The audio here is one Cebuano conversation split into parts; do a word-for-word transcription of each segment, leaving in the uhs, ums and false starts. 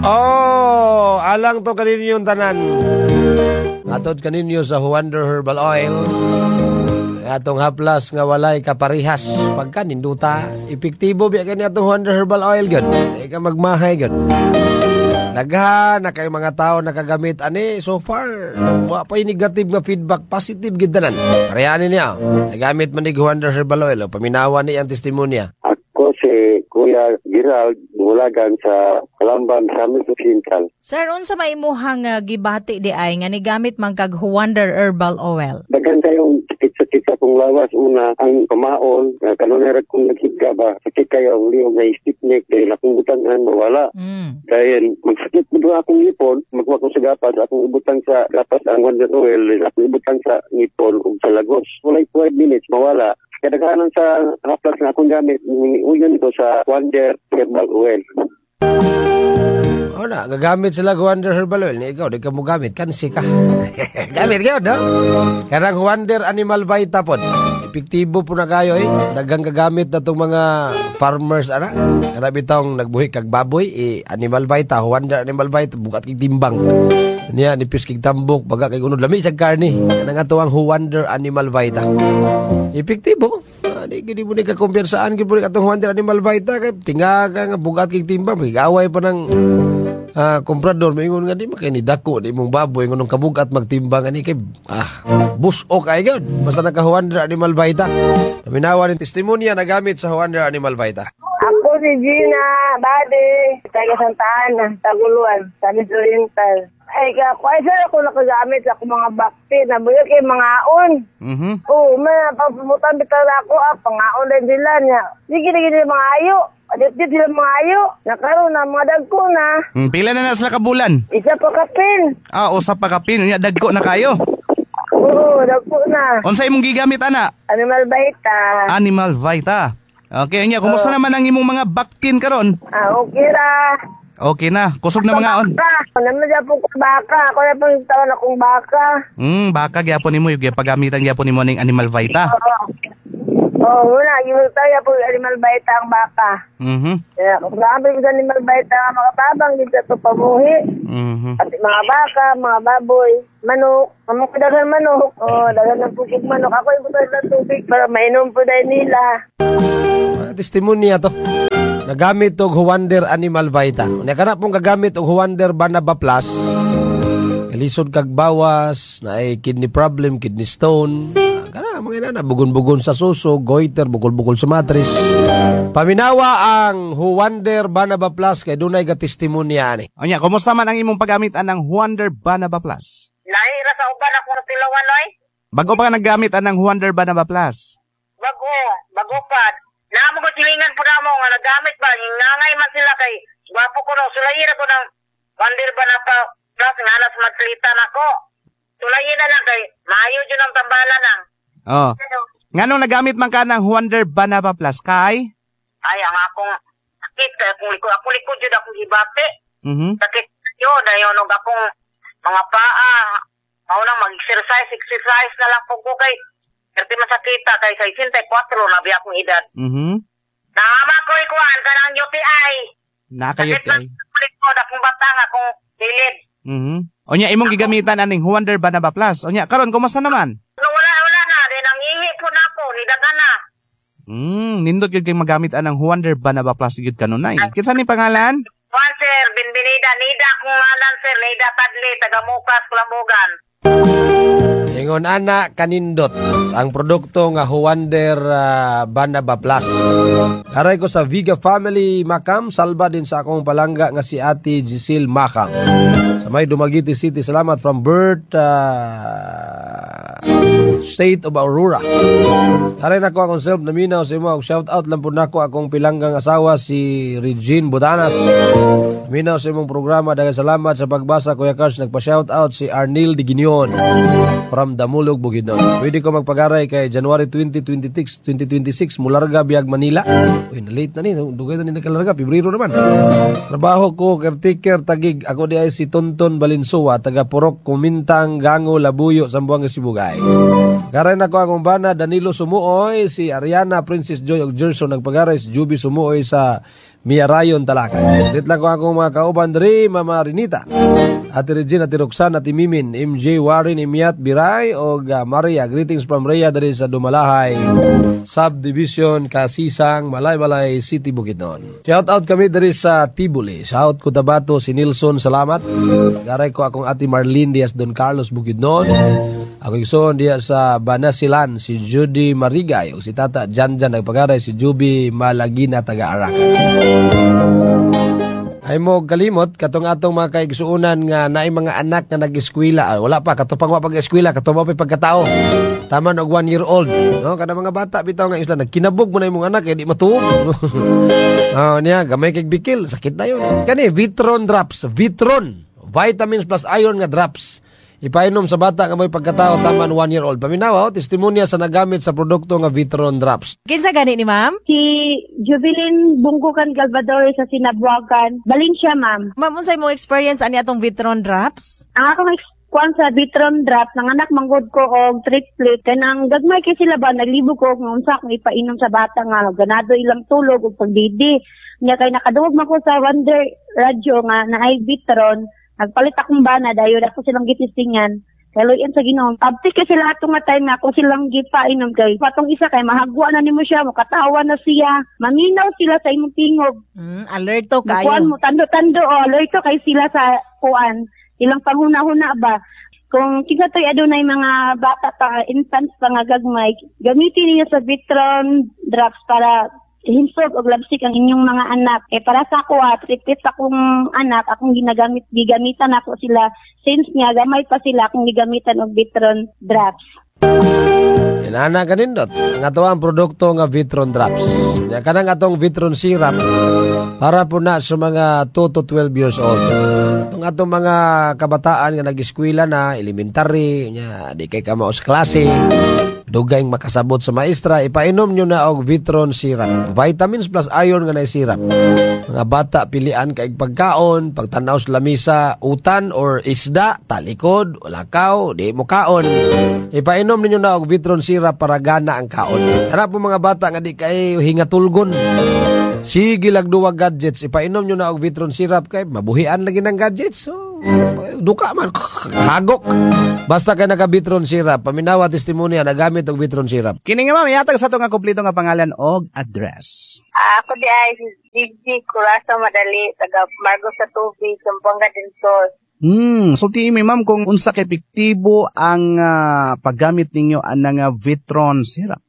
Oh, alang to kaninyong tanan. Atod kaninyo sa Wonder Herbal Oil. Atong haplas nga walay kaparihas pagka ninduta, epektibo biya kani atong Wonder Herbal Oil gyud. Di ka magmahay gyud. Daghan na kay mga tao nakagamit ani so far. Wa pa negative nga feedback, positive gid tanan. Parehanin niya. Nagamit man ni Wonder Herbal Oil, paminawa ni ang testimonya. Ako si Kuya Gerald Bulagan sa Kalamban sa Occidental. Sir, unsa may imuhang uh, gibati di ay nga nigamit man kag Wonder Herbal Oil? Daghan kayong sakit-sakit sa akong lawas. Una, ang kamaon, uh, kanunay ra kong naghiga ba, sakit kayo ang liog na stiff neck, dahil akong butangan, mawala. Mm. Dahil magsakit mo doon akong ngipon, magwa ko sa gapas, akong ibutang sa gapas ang Wonder Oil, akong ibutang sa ngipon ug sa lagos. Walay five minutes, mawala. Kadaghanan sa haplas nga akong gamit, uyon ko sa Wonder Herbal Oil. O na, gagamit sila og Wonder Herbal Oil. Ni ikaw, di ka mo gamit, kansi ka. Gamit ka, no? Kanang Wonder Animal Vita pod. Epektibo po na kayo eh. Daghang gagamit na itong mga farmers, ana. Kana bitong nagbuhi kag baboy, eh, Animal Vita, Wonder Animal Vita, bugat kig timbang. Niya, nipis kig tambok, baga kay unod lami sa karne. Kanang ato ang Wonder Animal Vita. Epektibo. Ah, di gid mo ni ka kumpiyansaan gid mo ni atong Wonder Animal Vita kay tingaga nga bugat kig timbang, gaway pa ng ah komprador maingon nga di man kay ni dako di mong baboy ngunong kabugat magtimbang ani kay ah buso kay gyud basta naka Wonder Animal Vita. Paminawa ni testimonya nagamit sa Wonder Animal Vita. Ako si Gina Bade, taga Santa Ana, Taguluan, Misamis Oriental. Ay, ako, ay, sir, ako nakagamit sa akong mga bakti, nabuyo kay mga on. Mhm. Oo, may pagpumutan bitaw na ako, ah, pangaon din sila niya. Sige, sige, sila mga ayo. Adit-dit sila mga ayo. Nakaroon na, mga dagko na. Hmm, pila na na sila ka bulan? Isa pa kapin. Ah, usa pa kapin, unya dagko na kayo. Oo, dagko na. Unsa imong gigamit ana? Animal Vita. Animal Vita. Okay, unya kumusta naman ang imong mga baktin karon? Ah, okay ra. Okay na, kusog na mga on. Baka. Naman dyan po ko baka. Ako na pong tawan akong baka. Hmm, baka gyapon nimo yung pagamitan gyapon nimo ning Animal Vita. Oo. Oo, wala. Yung tayo po Animal Vita ang baka. Mhm. Kaya kung sabi ko sa Animal Vita nga makatabang, dito ito pamuhi. Mhm. Pati mga baka, mga baboy, manok. Mga daghan manok. Oo, daghan ng pugig manok. Ako yung butang ng tubig para mainom po dahil nila. Ah, testimonya to. Nagamit og Wonder Animal Vita. Unya kana pong gagamit og Wonder Banaba Plus. Kalisod kag bawas, naay kidney problem, kidney stone. Ah, Kana mga inana bugon-bugon sa suso, goiter, bukol-bukol sa matris. Paminawa ang Wonder Banaba Plus kay dunay ga testimonya ani. Unya, kumusta man ang imong paggamit anang Wonder Banaba Plus? Lahi ra sa uban ako sa tilawan oy. Bago pa ka naggamit anang Wonder Banaba Plus? Bago, bago pa. Naamo ko silingan po na mo nga nagamit ba ngangay man sila kay gwapo ko no sulayin ako ng Wonder Banaba Plus nga alas magsalitan ako. Sulayin na lang kay maayo jud ang tambalan nang. Oh. Nganong nagamit man ka ng Wonder Banaba Plus kay? Ay ang akong sakit kay akong likod akong likod jud akong gibati. Mhm. Sakit yun dayon og akong mga paa. Mao nang mag-exercise, exercise na lang po ko kay Kasi masakita kay sa sesenta y kuwatro na biya akong edad. Mhm. Naama ko ikuan kanang U T I. Nakayot Sakit man kay. sa likod akong batang akong kilid. Mhm. Unya imong gigamitan aning Wonder Banaba Plus. Unya karon kumusta naman? No, wala wala na din ang ihi po na ako ni dagan na. Hmm, nindot gyud kay magamit anang Wonder Banaba Plus gyud kanunay. Kinsa ni pangalan? Juan sir, Benvenida, Nida akong ngalan sir, Nida Tadli, taga Mukas, Kulambugan. Ingon ana kanindot ang produkto nga Huwander uh, Banaba Plus. Aray ko sa Viga Family Makam, salba din sa akong palangga nga si Ate Giselle Makam. Sa may Dumaguete City, salamat from Bert uh, State of Aurora. Aray nako akong self naminaw sa imo. Shout out lang po nako akong pilanggang asawa si Regine Bodanas. Naminaw sa imong programa. Daghang salamat sa pagbasa, Kuya Cars. Nagpa-shout out si Arnil Di Guinion from Damulog, Bukidnon. Pwede ko magpagaray kay January twenty twenty-six, twenty twenty-six mularga biyag Manila. Uy, na-late na ni. Dugay na ni nakalarga. Pebrero naman. Trabaho ko, caretaker, Taguig. Ako di ay si Tonton Balinsoa, taga Purok, Kumintang, Gango, Labuyo, Zamboanga, Sibugay. Garay na ko akong bana, Danilo Sumuoy, si Ariana, Princess Joy og Gerson, nagpagaray si Juby Sumuoy sa Miarayon Talakay. Greet lang ko akong mga kauban diri, Mama Rinita, Ate Regina, Ate Roxanne, Ate Mimin, M J Warren, Imiat Biray, o uh, Maria. Greetings from Rhea diri sa Dumalahay Subdivision, Kasisang, Malaybalay City, Bukidnon. Shout out kami diri sa Tibuli, South Cotabato, si Nilson, salamat. Garay ko akong Ate Marlene Diaz Don Carlos, Bukidnon. Ako igsoon diya sa Banasilan, si Judy Marigay, o si Tata Janjan nagpagaray, si Juby Malagina, taga Arakan. Ay mo kalimot katong atong mga kaigsuonan nga naay mga anak nga nag-eskwela. Ah, wala pa kato pang wa pag-eskwela, kato mo pa pagkatao. Taman og one year old. No, kada mga bata bitaw nga isla nagkinabog mo na imong anak kay di matuog. Oh, niya gamay kay bikil, sakit na yun. Kani Vitron drops, Vitron vitamins plus iron nga drops. Ipainom sa bata nga may pagkatao taman one year old. Paminawa, oh, testimonya sa nagamit sa produkto nga Vitron drops. Kinsa gani ni, ma'am? Si Jubilin Bungkukan Galvador sa Sinabuagan. Valencia, ma'am. Ma'am, unsay mo experience ani atong Vitron drops? Ang akong ex kuan sa Vitron drop, nanganak manggod ko og triplet, kanang gagmay kay sila ba, naglibog ko kung unsa akong ipainom sa bata nga ganado ilang tulog ug pagdidi. Nya kay nakadungog man ko sa Wonder Radio nga naay Vitron, nagpalit akong bana, dayon ako silang gitistingan. Kay luyan sa Ginoo. Abti kay sila ato nga time nga ako silang gipainom kay patong isa kay mahagwa na nimo siya, mokatawa na siya, maminaw sila sa imong tingog. Mm, alerto Kuan kayo. mo tando-tando o alerto kay sila sa kuan. Ilang panghuna-huna ba. Kung kinsa to'y adunay mga bata pa, infants pa nga gagmay, gamitin niyo sa Vitron drops para hinsog og labsik ang inyong mga anak. Eh para sa ako ah, triplet akong anak, akong ginagamit, gigamitan ako sila since nga gamay pa sila, akong gigamitan og Vitron drops. Inana kanindot. Ang ato ang produkto nga Vitron drops. Nya kanang atong Vitron syrup para po na sa mga two to twelve years old. Atong atong mga kabataan nga nag-eskwela na, elementary, nya di kay kamao sa klase, dugay makasabot sa maestra, ipainom nyo na og Vitron syrup. Vitamins plus iron nga na syrup. Mga bata pilian kay pagkaon, pagtanaw sa lamisa, utan or isda, talikod, lakaw, di mo kaon. Ipainom ninyo na og Vitron syrup para gana ang kaon. Kana po mga bata nga di kay hingatulgon. Sige lag duwa gadgets, ipainom nyo na og Vitron syrup kay mabuhian lagi ng gadgets. So, duka man, hagok. Basta kay naka Vitron syrup, paminawa testimonya nagamit og Vitron syrup. Kini nga, ma'am, ihatag sa ato nga kompleto nga pangalan og address. Ah, ako di ay si Gigi Curasa Madali, taga Margos sa Tubig, Zamboanga del Sur. Hmm, sulti mi, ma'am, kung unsa ka epektibo ang ah, paggamit ninyo anang ah, Vitron syrup.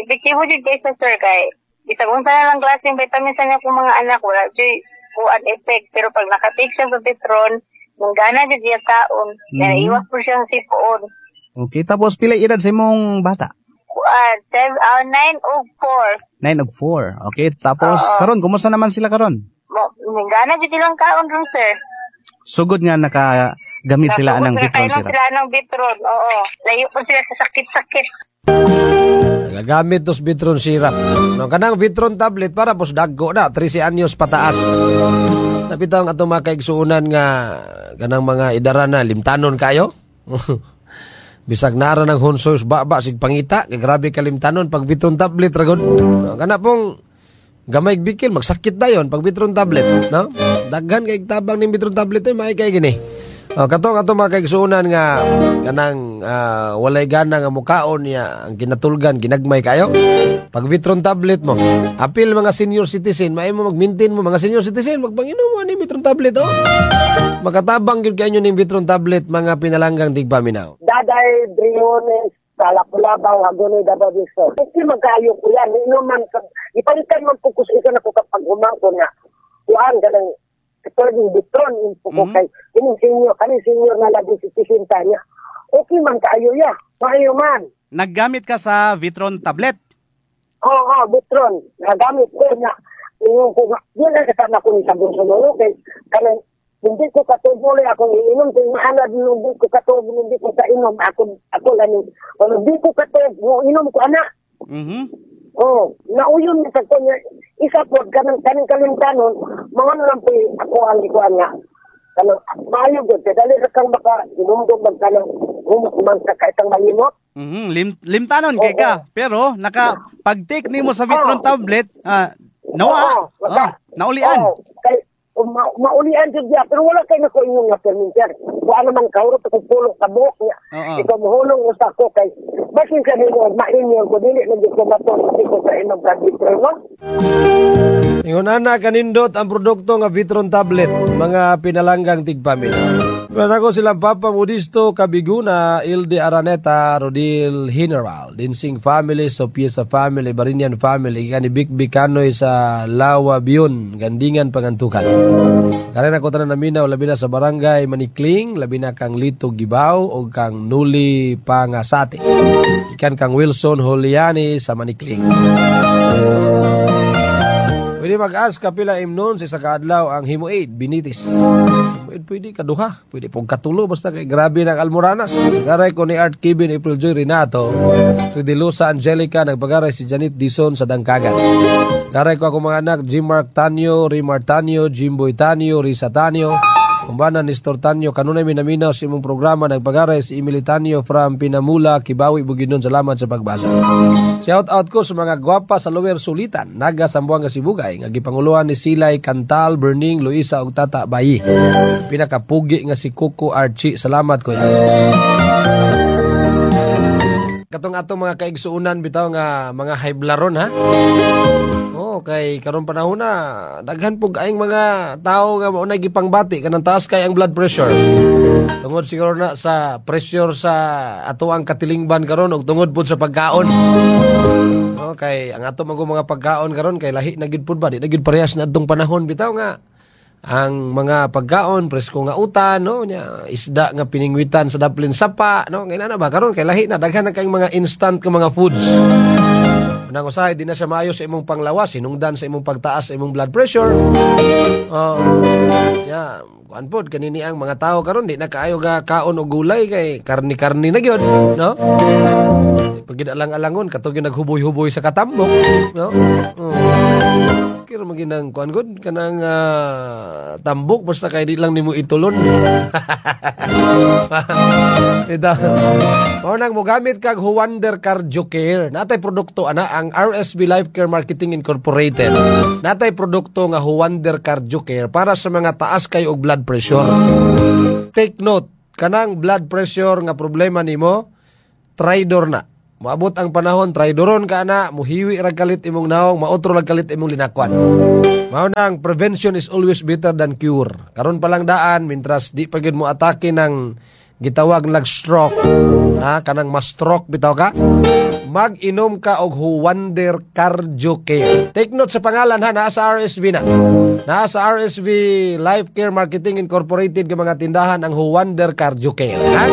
Epektibo jud kay sa sir kay bisag unsa na lang klaseng vitamins sa niya kung mga anak, wala jud kuan effect, pero pag nakatake siya sa Vitron, nang gana jud siya kaon, mm Mhm. iwas po siya sa sipuon. Okay, tapos pila edad sa imong bata? Kuan, seven, ah, nine o four. nine og four. Okay, tapos Oo. karon kumusta naman sila karon? Mo, gana jud silang kaon ron, sir. Sugod nga nakagamit sila anang Nasugod Vitron na syrup. sila ng Vitron, oo. Layo po sila sa sakit-sakit. Nagagamit tos Vitron syrup. No, kanang Vitron tablet para pos dagko na thirteen anyos pataas. Napitaw ang atong mga kaigsuonan nga kanang mga idara na limtanon kayo. Bisag nara ng honsoy baba sig pangita, kay grabe kalimtanon pag Vitron tablet ra gud. No, kana pong gamay bikil magsakit dayon pag Vitron tablet, no? Daghan kay tabang ning Vitron tablet oy, maay kay gini. Oh, katong atong mga kaigsuonan nga kanang ah, walay gana nga mukaon niya, ang kinatulgan ginagmay kayo. Pag Vitron tablet mo, apil mga senior citizen, maay mo mag-maintain mo mga senior citizen, magpanginom mo ani Vitron tablet oh. Makatabang gyud kayo ning Vitron tablet, mga pinalanggang tigpaminaw. Daday Briones sa Lapu-Labaw, Hagonoy, Davao del Sur. Hindi magkayo ko yan. Inom man, ipalitan man po ko sa isa na ko kapag humangko na kuan ganang katulad yung Vitron info ko Mhm. kay kining senior, kaning senior na labi citizen niya. Okay man kaayo ya. Maayo man. Naggamit ka sa Vitron tablet. Oo, oh, Vitron. Nagamit ko niya. Ingon ko nga, yun ang kasama ko ni sa bunso mo. Kay, kanang, hindi ko katubo ulit akong iinom. Kung maanad, hindi ko katubo, hindi ko kainom. Ako, ako lang yung, kung hindi ko katubo, inom ko anak. Mhm. Oh, nauyon na sa kanya. Isa po, kanang kanang kalimtanon, mga ano lang po ako ang ikuan nga. Kanang, maayo gud kay dali ra kang maka, inumdum mag kanang, human ka kahit ang malimot. Mhm, lim limtanon kay ka, pero naka pag-take nimo sa Vitron tablet, ah, Nawa. Oo, wala. Oh, naulian. Oo, kay ma maulian jud niya pero wala kay nako ingon nga perminter. Wa naman kahurot ako pulong ka buhok niya. Oo. Ikaw mohulong usa ko kay basin sa nimo maingon ko dili man jud ko matong di ko sa inom ka Vitron no. Ingon ana kanindot ang produkto nga Vitron tablet, mga pinalanggang tigpaminaw. Pero ako silang Papa Modesto Kabiguna, Ilde Araneta, Rodil General, Dinsing Family, Sopiesa Family, Barinian Family, kani Big Bicanoy sa Lawa Bion, Gandingan, Pangantukan. Karen ako tanan naminaw, labi na sa barangay Manikling, labi na kang Lito Gibaw o kang Nuli Pangasati. Ikan kang Wilson Juliani sa Manikling. Pwede mag-ask kapila imnon sa isa kaadlaw ang Hemoaid, Binitis. Hemoaid pwede kaduha, pwede pong katulo basta kay grabe ng almoranas. Garay ko ni Art Kevin April Joy Renato, Tridilusa Angelica, nagpagaray si Janet Dison sa Dangkagan. Garay ko ako mga anak, Jim Mark Tanyo, Rimar Tanyo, Jimboy Tanyo, Risa Tanyo, Kumbana Nestor Tanyo, kanunay minaminaw sa imong programa, nagpagaray si Emily Tanyo from Pinamula, Kibawi, Bukidnon. Salamat sa pagbasa. Shout out ko sa mga gwapa sa Lower Sulitan, Naga, Sambuanga, Sibugay, nga gipanguluhan ni Silay, Kantal, Berning, Luisa ug Tata Bayi. Pinakapugi nga si Coco Archie. Salamat kuya. Katong atong mga kaigsuunan bitaw nga mga hayblaron ha. Oh, kay karon panahon na daghan pug aing mga tao nga mao na gipangbati kanang taas kay ang blood pressure. Tungod siguro na sa pressure sa ato ang katilingban karon ug tungod pud sa pagkaon. Oh, kay ang ato man mga pagkaon karon kay lahi na gyud pud ba di na gyud parehas na adtong panahon bitaw nga ang mga pagkaon presko nga utan no nya isda nga piningwitan sa daplin sapa no kay na ba karon kay lahi na daghan na kayong mga instant nga mga foods. Unang usahay di na siya maayo sa imong panglawas, hinungdan sa imong pagtaas sa imong blood pressure. Oh. Ya, kuan pod kanini ang mga tao karon di na kaayo ga kaon og gulay kay karni-karni na gyud, no? Pag alang-alangon katong gyud naghuboy-huboy sa katambok, no? Oh. Kira maginang kuan gud kanang ah, tambok basta kay di lang nimo itulon. Ito. Mao nang mogamit kag Huwander Cardio Care. Natay produkto ana ang R S B Life Care Marketing Incorporated. Natay produkto nga Huwander Cardio Care para sa mga taas kay og blood pressure. Take note, kanang blood pressure nga problema nimo, traidor na. Moabot ang panahon, traidoron ka na, muhiwi ra kalit imong naong, maotro ra kalit imong linakwan. Mao nang prevention is always better than cure. Karon pa lang daan, mintras di pa gyud mo atake ng gitawag nag stroke. Ha, kanang ma-stroke bitaw ka? Mag-inom ka og Huwander Cardio Care. Take note sa pangalan ha, naa sa R S V na. Naa sa R S V Life Care Marketing Incorporated nga mga tindahan ang Huwander Cardio Care. Ha?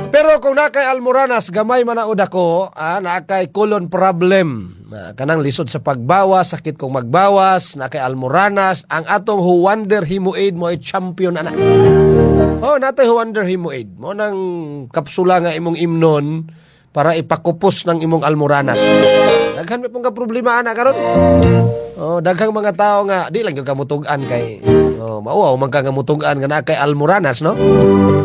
Pero kung nakay almoranas, gamay man ako, ah, nakay colon problem. Na, kanang lisod sa pagbawas, sakit kong magbawas, nakay almoranas, ang atong Huwander Hemoaid mo ay champion ana. Oh, natay Huwander Hemoaid. Mo nang kapsula nga imong imnon para ipakupos ng imong almoranas. Daghan may pong ka problema ana karon. Oh, daghang mga tao nga di lang gyud ka mutug-an kay oh, mauwaw man ka nga mutug-an nga naa kay almoranas, no?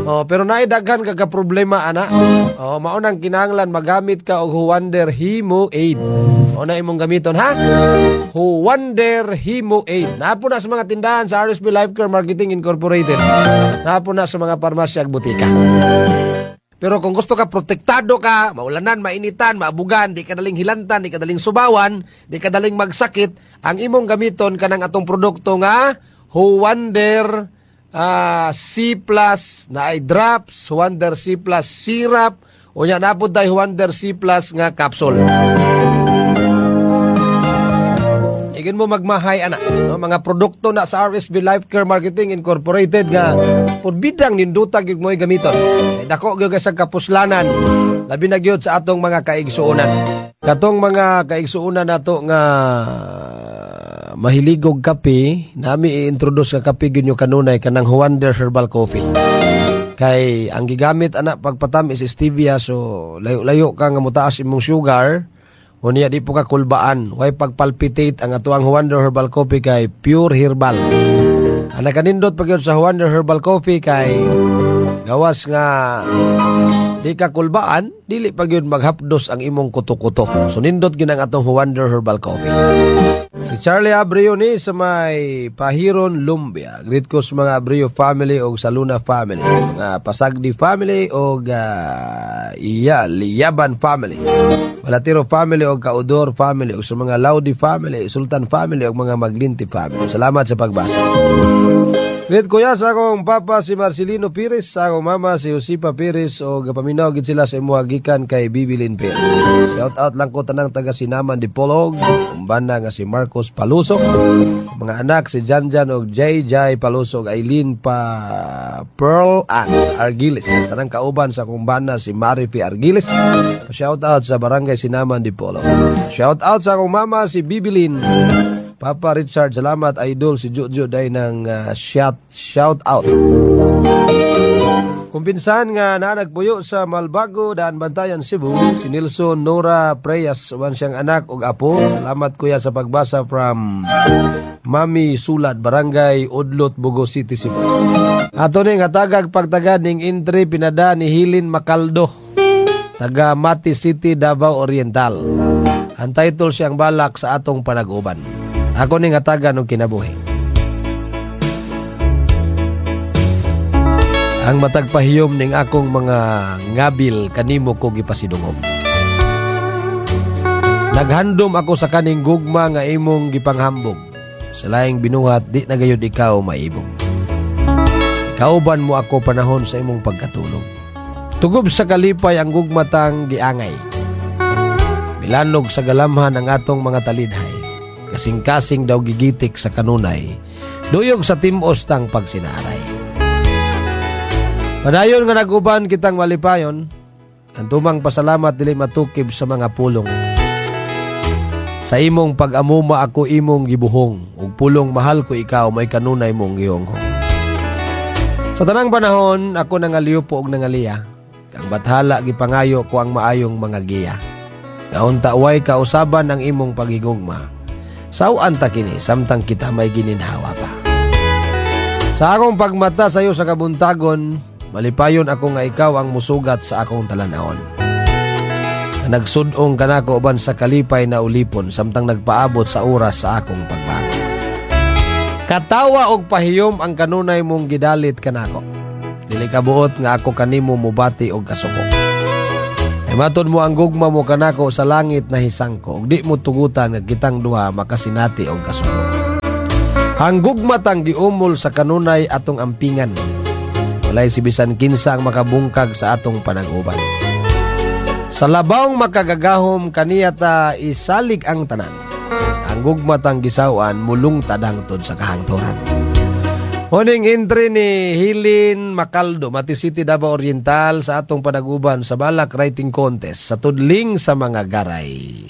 Oh, pero naay daghan ka ka problema ana. Oh, mao nang kinahanglan magamit ka og Huwander Hemoaid. O na imong gamiton ha? Huwander Hemoaid. Naapo na sa mga tindahan sa R S B Life Care Marketing Incorporated. Naapo na sa mga parmasya ug butika. Pero kung gusto ka, protektado ka, maulanan, mainitan, maabugan, di ka daling hilantan, di ka daling subawan, di ka daling magsakit, ang imong gamiton kanang atong produkto nga Huwander uh, C plus na ay drops, Huwander C plus syrup, o nya napod tay Huwander C plus nga capsule. Igin mo magmahay ana, no? Mga produkto na sa R S B Life Care Marketing Incorporated nga purbidang ninduta gyud mo'y gamiton. Ay dako gyud sa kapuslanan, labi na gyud sa atong mga kaigsuonan. Katong mga kaigsuonan nato nga mahiligog kape, nami i-introduce ka kape gyud nyo kanunay kanang Huwander Herbal Coffee. Kay ang gigamit ana pagpatamis is stevia, so layo-layo ka nga motaas imong sugar. Unya di po ka kulbaan, way pagpalpitate ang atuang Huwander Herbal Coffee kay pure herbal. Ang nakanindot pag yun sa Huwander Herbal Coffee kay Gawas nga di ka kulbaan, dili pa gyud maghapdos ang imong kuto-kuto. So nindot gyud ang atong Wonder Herbal Coffee. Si Charlie Abreu ni sa may Pahiron, Lumbia. Greet ko sa mga Abreu family o sa Luna family, mga Pasagdi family o uh, iya, Liyaban family, Balatiro family o Kaudor family o sa mga Laudi family, Sultan family o mga Maglinti family. Salamat sa pagbasa. Greet kuya sa akong papa si Marcelino Pires, sa akong mama si Josepa Pires o gapaminaw gid sila sa imuha gikan kay Bibilin Pires. Shout out lang ko tanang taga Sinaman Dipolog, umbana nga si Marcos Palusok, mga anak si Janjan og J J Palusok, Aileen pa Pearl Ann Argiles. Tanang kauban sa akong bana si Marifi Argiles. Shout out sa Barangay Sinaman Dipolog. Shout out sa akong mama si Bibilin. Papa Richard, salamat, idol si Jojo day ng uh, shout shout out. Kung pinsan nga nanagpuyo sa Malbago, Daan Bantayan, Cebu, si Nilson Nora Preyas, uban siyang anak ug apo. Salamat, kuya, sa pagbasa from Mami Sulad, Barangay Udlot, Bogo City, Cebu. Ato ning hatagag pagtagad ning entry pinada ni Hilin Makaldo, taga Mati City, Davao Oriental. Ang title siyang "Balak sa atong panag-uban". Ako ning hatagan og kinabuhi. Ang matag pahiyom ning akong mga ngabil kanimo ko gipasidungog. Naghandom ako sa kaning gugma nga imong gipanghambog. Sa laing binuhat, di na gayud ikaw maibog. Kauban mo ako panahon sa imong pagkatulog. Tugob sa kalipay ang gugmatang giangay. Milanog sa galamhan ang atong mga talidhay. Kasing-kasing daw gigitik sa kanunay. Duyog sa timos tang pagsinaray. Padayon nga nag-uban kitang malipayon. Ang tumang pasalamat dili matukib sa mga pulong. Sa imong pag-amuma ako imong gibuhong. Ug pulong mahal ko ikaw may kanunay mong gihonghong. Sa tanang panahon ako nangaliupo og nangaliya. Kang bathala gipangayo ko ang maayong mga giya. Naunta way kausaban ang imong pagigugma. Sawan ta kini samtang kita may gininhawa pa. Sa akong pagmata sayo sa kabuntagon, malipayon ako nga ikaw ang musugat sa akong talanawon. Nagsudong kanako uban sa kalipay na ulipon samtang nagpaabot sa oras sa akong pagbangon. Katawa og pahiyom ang kanunay mong gidalit kanako. Dili ka buot nga ako kanimo mubati og kasuko. Ay matod mo ang gugma mo kanako sa langit na hisangko ug di mo tugutan nga kitang duha makasinati og kasuko. Ang gugma tang giumol sa kanunay atong ampingan. Walay si bisan kinsa ang makabungkag sa atong panag-uban. Sa labawng makagagahom kaniya ta isalig ang tanan. Ang gugma tang gisawan mulungtad hangtod sa kahangturan. Huning entry ni Hilin Macaldo, Mati City, Davao Oriental sa atong panaguban sa Balak Writing Contest sa tudling sa mga garay.